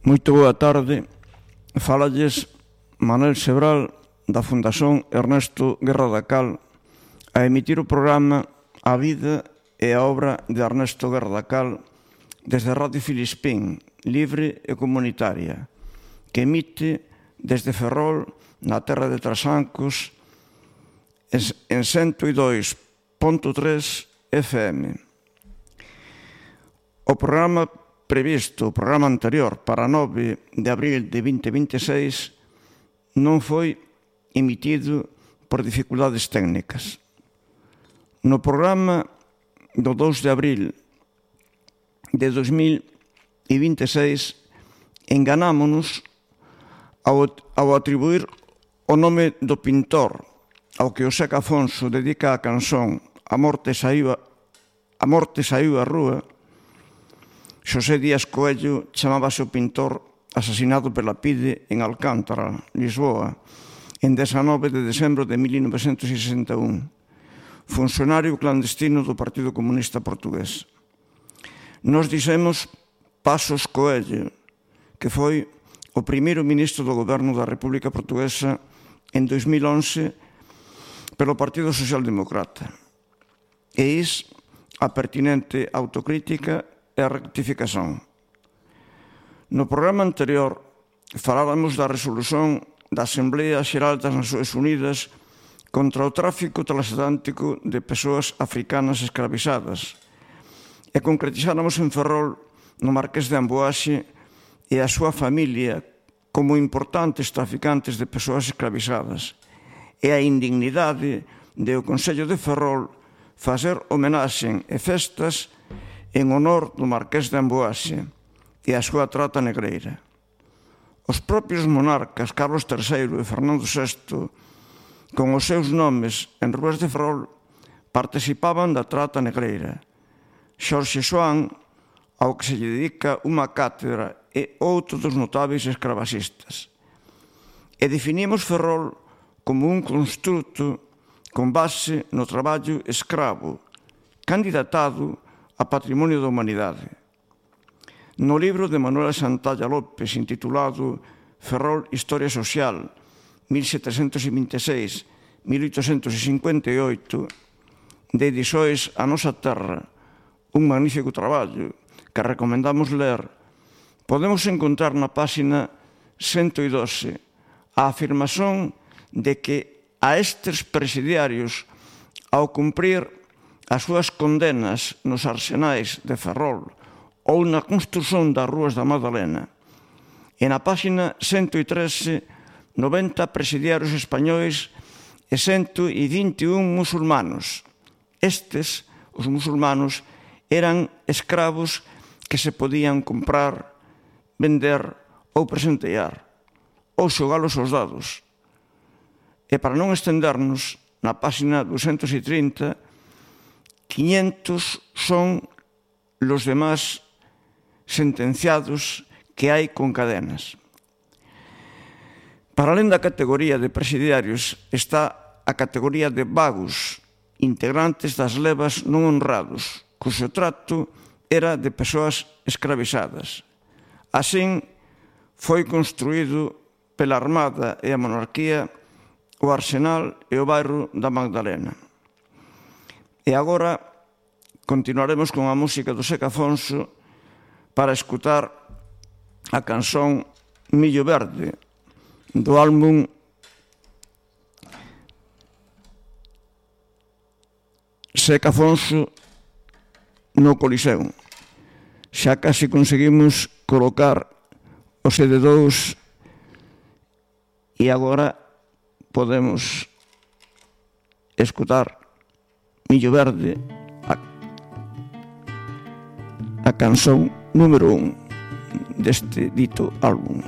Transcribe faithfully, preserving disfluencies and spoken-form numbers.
Moito boa tarde. Fálalles Manuel Sebral da Fundación Ernesto Guerra da Cal a emitir o programa A vida e a obra de Ernesto Guerra da Cal desde Radio Filispín, libre e comunitaria, que emite desde Ferrol, na terra de Trasancos, en cento e dois punto tres F M. O programa previsto, o programa anterior, para nove de abril de vinte vinte e seis, non foi emitido por dificultades técnicas. No programa do dous de abril de dos mil vinte e seis, enganámonos ao, ao atribuir o nome do pintor ao que o Seca Afonso dedica a canción A morte saiu a, a morte saiu á rúa. Xosé Díaz Coello chamábase o pintor asasinado pela PIDE en Alcántara, Lisboa, en dezanove de decembro de mil novecentos sesenta e un, funcionario clandestino do Partido Comunista Portugués. Nos dixemos Pasos Coello, que foi o primeiro ministro do goberno da República Portuguesa en dois mil once pelo Partido Social-Democrata. E is a pertinente autocrítica e a rectificación. No programa anterior falábamos da resolución da Asamblea Xeral das Nacións Unidas contra o tráfico transatlántico de persoas africanas escravizadas e concretizáramos en Ferrol, no Marqués de Amboaxe, e a súa familia como importantes traficantes de persoas escravizadas, e a indignidade de o Concello de Ferrol facer homenaxe e festas en honor do Marqués de Amboaxe e a súa trata negreira. Os propios monarcas Carlos terceiro e Fernando sexto, con os seus nomes en rúas de Ferrol, participaban da trata negreira. Xorxe Soán, ao que se lle dedica unha cátedra, e outro dos notáveis escravasistas. E definimos Ferrol como un construto con base no traballo escravo, candidatado a Patrimonio da Humanidade. No libro de Manuela Santalla López, intitulado Ferrol, Historia Social, mil setecentos vinte e seis a mil oitocentos cincuenta e oito, de Disoes a nosa terra, un magnífico traballo que recomendamos ler, podemos encontrar na páxina cento e doce a afirmación de que a estes presidiarios, ao cumprir as súas condenas nos arsenais de Ferrol ou na construción das rúas da Madalena, e na páxina cento e trece, noventa presidiarios españois e cento e vinte e un musulmanos. Estes, os musulmanos, eran escravos que se podían comprar, vender ou presentear, ou xogalos aos dados. E para non estendernos, na páxina duzentos e trinta, quinhentos son los demás sentenciados que hai con cadenas. Para alén da categoría de presidiarios está a categoría de vagos, integrantes das levas non honrados, cuxo trato era de persoas escravizadas. Así foi construído pela Armada e a Monarquía o Arsenal e o bairro da Magdalena. E agora continuaremos con a música do Seca Afonso para escutar a canción Millo Verde, do álbum Seca Afonso no Coliseo. Xa casi conseguimos colocar o C D dous e agora podemos escutar Millo Verde, a, a canción número un deste dito álbum.